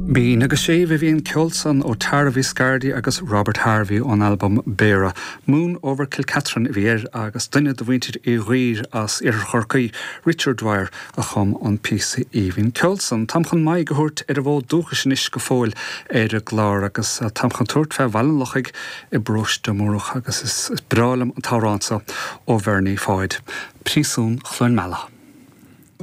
Mín agus séimh a bhí an ceol san ó Tara Viscardi agus Robert Harvey ón albam Béara. Moon Over Kilcatherine a bhí air agus duine de mhuintir Uí Dhuibhir as Iarthar Chorcaí, Richard Dwyer, a chum an píosa aoibhinn ceoil san. Táim chun m'aghaidh a thabhairt ar an bhfód dúchais anois go fóill ar an gclár agus táim chun tabhairt fé Bhaile an Lochaigh i bparóiste Múrach agus is breá liom an t-amhrán seo ó Bhernie Pháid, Príosún Chluain Meala.